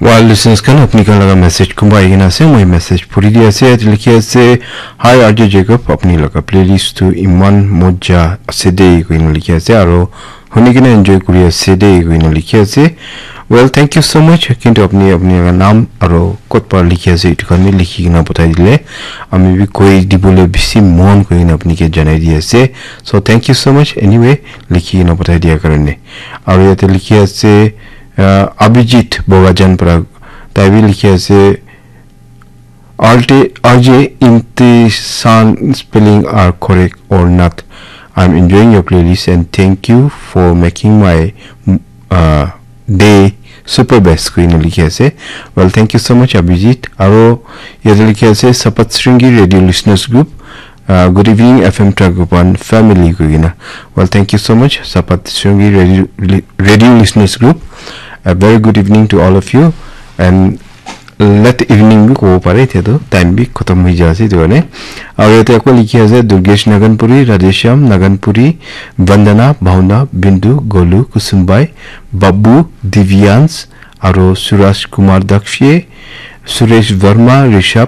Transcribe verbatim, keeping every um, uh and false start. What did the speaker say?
Well, listeners khan, apni khan laga message kumba ahi kena ase, moi message puri di ase, yate likhi ase, "Hi, R J Jacob, apni laga playlist tu iman moja ase de," koi kena likhi ase, aro huni kena enjoy kuri ase de, koi kena likhi ase. Well, thank you so much. Kintu apni, apni laga naam aro kot para likhi ase, itu khan bi likhi kena pathai dile, ami bi koi dibole bisi mon koi kena apni ke janai di ase. So, thank you so much. Anyway, likhi kena pathai dia karone. Aro yate likhi ase, uh, Abhijit Bogajan para, tai bi likhi ase, "R T, R J, Imtisan spelling are correct or not? I'm enjoying your playlist and thank you for making my, uh, day super best," koi kena likhi ase. Well, thank you so much, Abhijit. Aro yate likhi ase, "Sapat Sringi Radio Listeners Group. Uh, good evening, F M Tragopan family," koi kena. Well, thank you so much, Sapat Sringi Radio, Radio Listeners Group. A very good evening to all of you. And late evening bi kobo pare, etia tu time bi khatam hoi jai ase, etu karne. Aru yate ako likhi ase, Durgesh Naganpuri, Radheshyam Naganpuri, Vandana, Bhauna, Bindu, Golu, Kusumbai, Babu, Divyans, aro Suraj Kumar Dakshie, Suresh Verma, Rishabh,